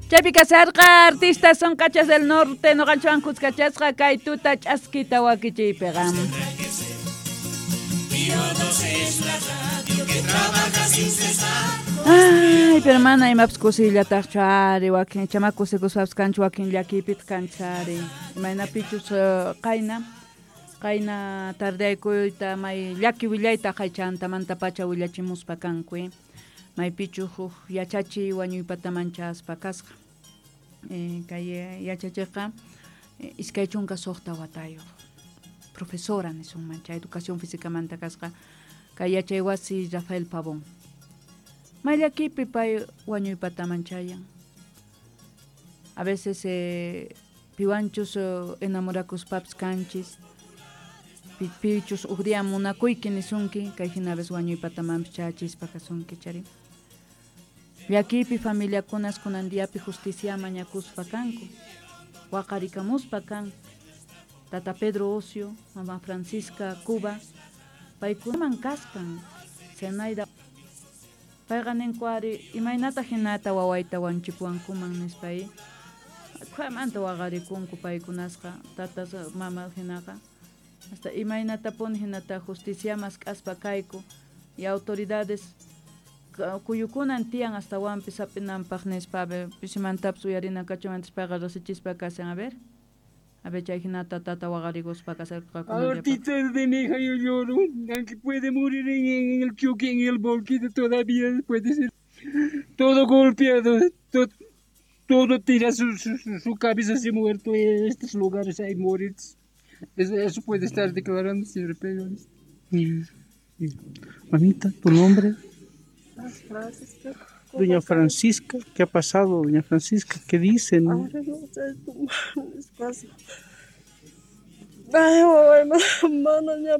Chaypi kasarqa artistas son cachas del norte noqanchwan kuskachasqa kay tuta ch'askita wakichiypiqa. Ay, pero mana imapas kusiyllatajchu ari wakin chama kusikuspapas kanchu wakin llakiypitaq kanchis ari imaynapichus qayna qayna tardeaykuyta may llaki willayta qaychantamantapacha willachimuspa kanku maypichu huk yachachiy wañuypataman chaspa kasqa kay yachachiqqa 26 watayuq profesora nisunman chay educación físicamanta kasqa kay yachaywasi Rafael Pavón may llakipi pay wañuypataman chayan a veces piwanchus enamorakuspapis kanchis pichus uj día munakuyki nisunki kay jina a veces wañuypatamanpis chayachispa kasunki chari llakiypi familiakunas kunan diapi justicia mañakuspa kanku waqarikamuspa kan Tata Pedro Ocio, Mama Francisca Cuba paykunaman kaskan Zenaida payqa ninku ari imaynata hinata wawayta wanchipuwankuman nispa khuamanta waqarikunku paykunasqa tatas mama hinaqa hasta imaynatapuni hinata justicia mask'aspa kayku y autoridades kuyukunan tiyan astawanpis hap'inanpaq nispa a ver pisimantapis uyarina kachumantas payqa riqsichispa kashan a ver chay hinata tata waqarikuspa kasharqa Ahorita de mi hija yo lloro, aunque puede morir en el choque, en el volquito, todavía puede ser todo golpeado, todo tira su cabeza así muerto en estos lugares hay morir. Eso puede estar declarando, señor Pedro. Mamita, ¿tu nombre? Francisca. Doña Francisca, ¿qué ha pasado, doña Francisca? ¿Qué dicen? Ahora no sé, despacio. Ay, mamá, mana, ya.